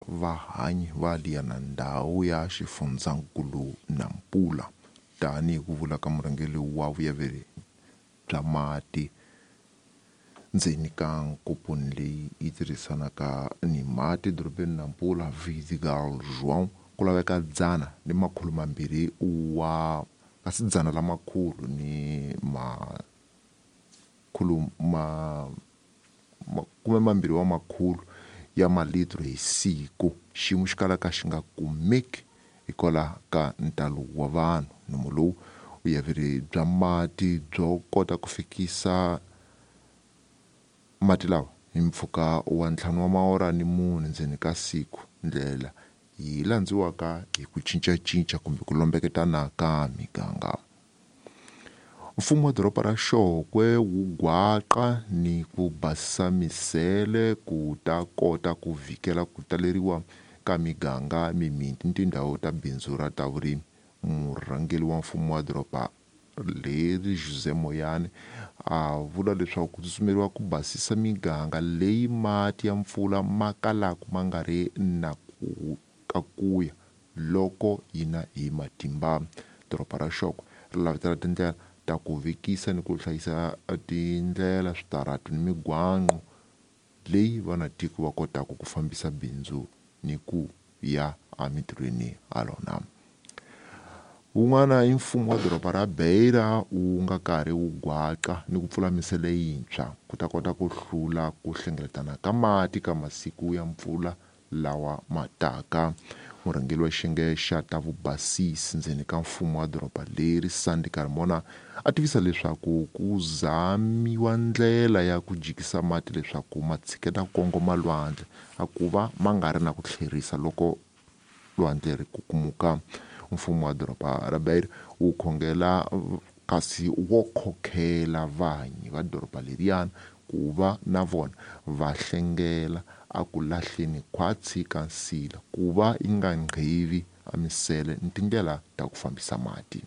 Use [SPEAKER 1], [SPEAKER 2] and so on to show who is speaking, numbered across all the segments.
[SPEAKER 1] Vahanyi va liyana ndhawu ya xifundzankulu Nampula, tani hi ku vula ka murhangeri wa vuyaveri bya mati ndzeni ka nkomponi leyi yi tirhisanaka ni mati edorobeni Nampula, Vidigal João, ku laveka dzana ni makhulu mambirhi wa kasi dzana la makhulu ni makhulu ma makume mambirhi wa makhulu ya malitro hi siku. Xiyimo xi kalaka xi nga kumeki hikwalaho ka ntalo wa vanhu. Nomo lowu vuyaveri bya mati byo kota ku fikisa mati lawa hi mpfhuka wa ntlhanu wa maora ni mune ndzeni ka siku, ndlela yi landziwaka hi ku cincacinca kumbe ku lombeketana ka miganga. Mfumo wa doroba ra Xokwe wu gwaqa ni ku basisa misele ku ta kota ku vhikela ku taleriwa ka miganga, mimiti ni tindhawu ta bindzu ra ta vurimi. Murhangeri wa mfumo wa doroba leri Jose Moyane a vula leswaku ku tsutsumeriwa ku basisa miganga leyi mati ya mpfula ma kalaka ma nga ri na ku ka kuya loko yi na hi matimba. Doroba ra Xokwe ri lavetela tindlela ta ku vekisa ni ku hlayisa tindlela, switaratu ni migwaqo leyi vanatiko va kotaka ku fambisa bindzu ni ku ya emitirhweni ha rona. Wun'wana i mfumo wa doroba ra Beira wu nga karhi wu gwaqa ni ku pfula misele yintshwa ku ta kota ku hlula ku hlengeletana ka mati ka masiku ya mpfula lawa ma taka. Murhangeri wa xiyenge xa ta vubasisi ndzeni ka mfumo wa doroba leri Sandy Carmona a tivisa leswaku ku zamiwa ndlela ya ku jikisa mati leswaku ma tshiketa ku kongoma lwandle a ku va ma nga ri na ku tlherisa loko lwandle ri kukumuka. Mfumo wa doroba ra Beira wu khongela kasi wo khokhela vanyi va doroba leriyana ku va na vona va hlengela a ku lahleni khwatsi ka nsila ku va yi nga nghevi a misele ni tindlela ta ku fambisa mati.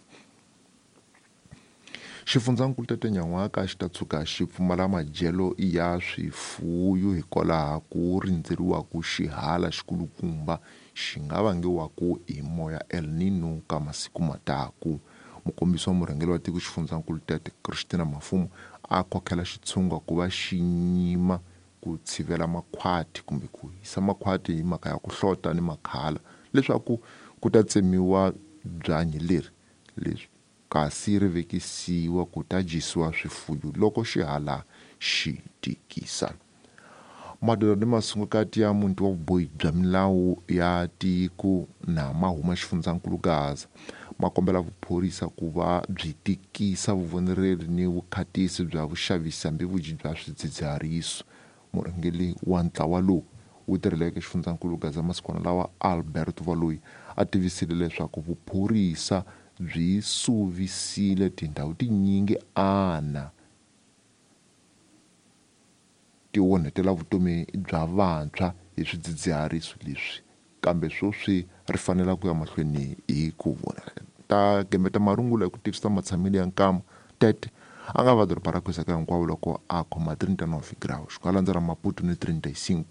[SPEAKER 1] Xifundzankulu Tete Nyan'waka xi ta tshuka xi pfumala madyelo ya swifuyo hikwalaho ku rindzeriwaku xihala xikulukumba xi nga vangiwaku hi moya El Nino ka masiku mataku. Mukombisi wa murhangeri wa tiko xifundzankulu Tete Christina Mafumo a khokhela xitshunga ku va xi nyima ku tshivela makhwati kumbe ku hisa makhwati hi mhaka ya ku hlota ni makhala leswaku ku ta tsemiwa byanyi leri leswi kasi ri vekisiwa ku ta dyisiwa swifuyo loko xihala xi tikisa. Madoda ni masungukati ya muti wa vubohi bya milawu ya tiko na ma huma xifundzankulu Gaza ma kombela vuphorisa ku va byi tikisa vuvonereri ni vukhatisi bya vuxavisi hambi vudyi bya swidzidzihariso. Murhangeri wa ntlawa lowu wu tirheleke xifundzankulu Gaza masikwana lawa Albert Valoyi a tivisile leswaku vuphorisa byi suvisile tindhawu tinyingi ana ti onhetela vutomi bya vantshwa hi swidzidzihariso leswi, kambe sweswi ri fanela ku ya mahlweni hi ku vona ta gembeta marungula hi ku tivisa matshamelo ya nkama. Tete a nga va doroba ra Kuzaka hinkwavo loko a khoma 39 graus, ku landzela Maputo ni 35,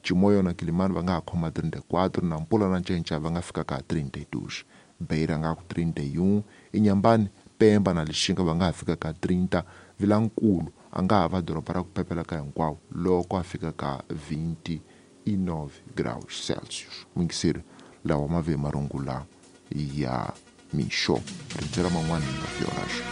[SPEAKER 1] Chimoio na Kilimani va nga ha khoma 34, Nampula na Ncenca va nga fika ka 32, Beira nga ku 31, Inhambane, Pemba na Lixinga va nga ha fika ka 30, Vilankulu a nga ha va doroba ra ku pepela ka hinkwavo loko a fika ka 29 graus Celsius. Muyingiseri, lawa ma ve marungula ya mixo. Rindzela man'wana hi 9 horas.